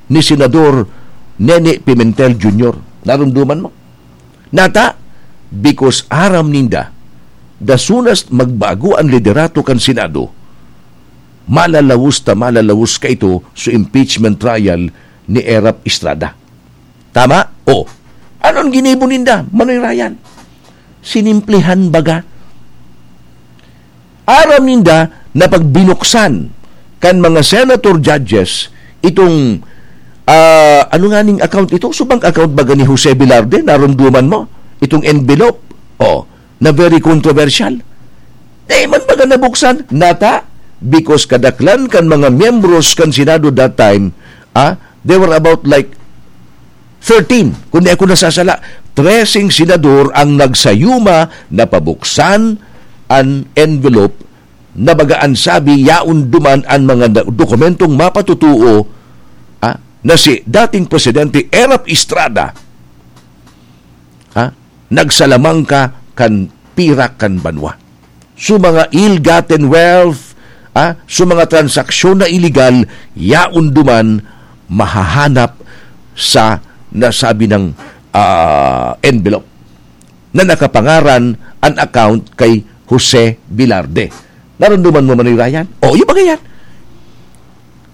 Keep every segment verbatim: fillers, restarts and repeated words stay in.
ni Senador Nene Pimentel Junior. Narumduman mo? Nata, because aram ninda, dasunas magbago an liderato kan Senado, malalawos ta malalawos kaito sa impeachment trial ni Erap Estrada. Tama? O, ano an ginibo ninda, Manoy Ryan? Sinimplihan baga. Aram ninda na pag binuksan kan mga senator judges itong, ah, ano nga ning account ito? Subang account baga ni Jose Velarde, narumduman mo? Itong envelope, o, na very controversial. Di man baga nabuksan, nata, because kadaklan kan mga miyembros kan Senado that time, ah, they were about like thirteen, kung di ako nasasala, treseng senador ang nagsayuma na pabuksan an envelope na baga an sabi, yaon duman an mga da-, dokumentong mapatutuo, ah, na si dating Presidente Erap Estrada, ah, nagsalamangka kan pira kan banwa. Sa mga ill-gotten wealth, ah, sa mga transaksyon na iligal, yaon duman mahahanap sa nasabi ng, ah, envelope na nakapangaran an account kay Jose Velarde. Narumduman mo, Manoy Ryan? O, yung mga yan.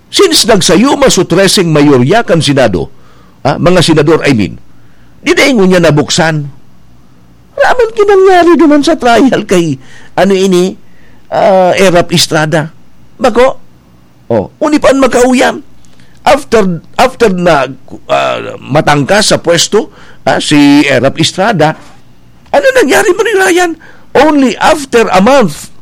Since nagsayuma so treseng mayorya kan Senado, ah, mga senador, I mean, di dai ngunyan nabuksan. Raman kinangyari duman sa trial kay, ano ini, ah, Erap Estrada. Bako? O, uni pa an magkauyam. After, after na, ah, matangkas sa pwesto, ah, si Erap Estrada, ano nangyari, Manoy Ryan? Only after a month,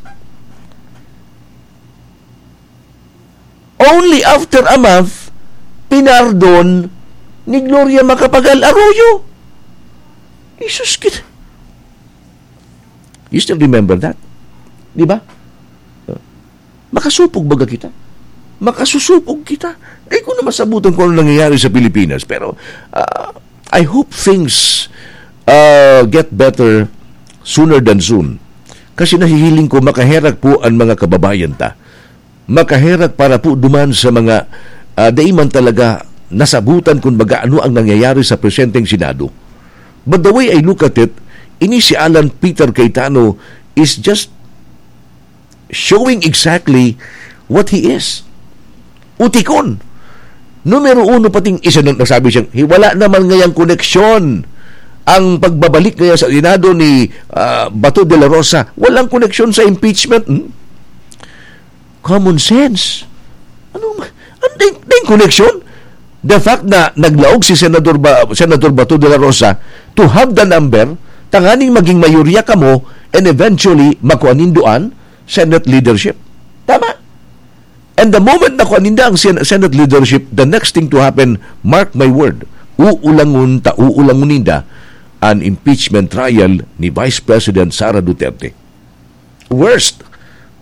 only after a month, pinardon ni Gloria Macapagal Arroyo. Jesus, kit-, you still remember that? Di ba? Makasupog baga kita? Makasusupog kita? Di ko na masabutan kung ano nangyayari sa Pilipinas. Pero, ah, I hope things, ah, get better sooner than soon. Kasi nahihiling ko, makaherak po ang mga kababayan ta. Makaherak para po duman sa mga, ah, dai man talaga nasabutan kung baga ano ang nangyayari sa presenteng Senado. But the way I look at it, ini si Alan Peter Cayetano is just showing exactly what he is. Utikon. Numero uno, pating isa na nasabi siyang, "Hi-, wala naman ngayang koneksyon ang pagbabalik ngayon sa Senado ni, ah, Bato de la Rosa. Walang koneksyon sa impeachment." Hmm? Common sense. Ano ma-, ano ding, ding koneksyon? The fact na naglaog si Senador Ba-, Senador Bato de la Rosa to have the number, tanganing maging mayorya kamo, and eventually, makuha nindo an Senate leadership. Tama? And the moment na kuha ninda ang Sen-, Senate leadership, the next thing to happen, mark my word, uulangon ta, uulangon ninda an impeachment trial ni Vice President Sara Duterte. Worst,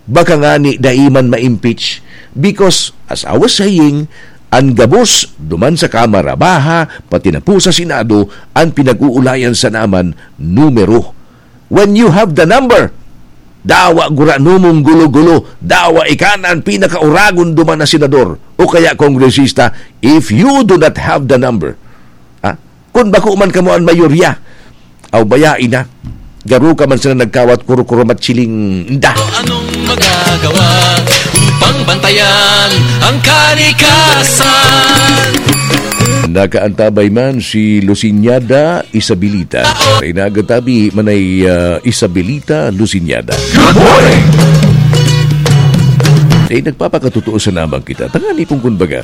baka ngani dai man ma-impeach because, as I was saying, an gabos duman sa Kamara Baha, pati na po sa Senado, an pinag-uulayan sana man numero. When you have the number, dawa gurano mong gulo-gulo, dawa ika na an pinakauragon duman na senador o kaya kongresista if you do not have the number. Ha? Kun bako man kamo an mayorya, aw, bayai na. Garo ka man sana nagkawat kuro-kuro matchiling inda. Anong magagawa upang bantayan ang kalikasan? Nakaantabay man si Luciñada Isabelita. Inagatabi manay, ah, Isabelita Luciñada. Good morning! Eh, nagpapakatotoo sa namang kita. Tangani kung kun baga.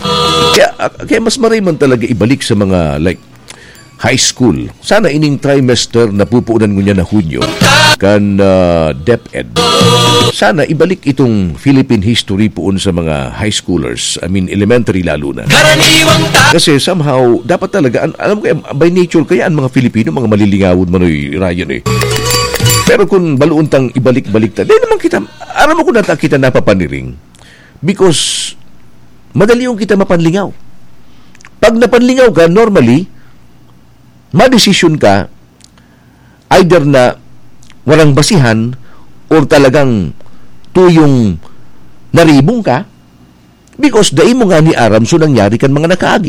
Kaya, ah, kaya mas maray man talaga ibalik sa mga, like, high school. Sana ining trimester na pupunan ngunyan na Hunyo kan, ah, DepEd. Sana ibalik itong Philippine history poon sa mga high schoolers. I mean, elementary lalo na. Karaniwang ta- Kasi somehow, dapat talaga, an-, alam ko, eh, by nature, kaya ang mga Filipino, mga malilingawon, Manoy Ryan, eh. Pero kung baluon tang ibalik-balik ta, di naman kita, aram mo kung nata kita napapaniring. Because, madali yung kita mapanlingaw. Pag napanlingaw ka, normally, madesisyon ka, either na warang basihan or talagang tuyong naribong ka, because dai mo ngani aram so nangyari kan mga nakaagi.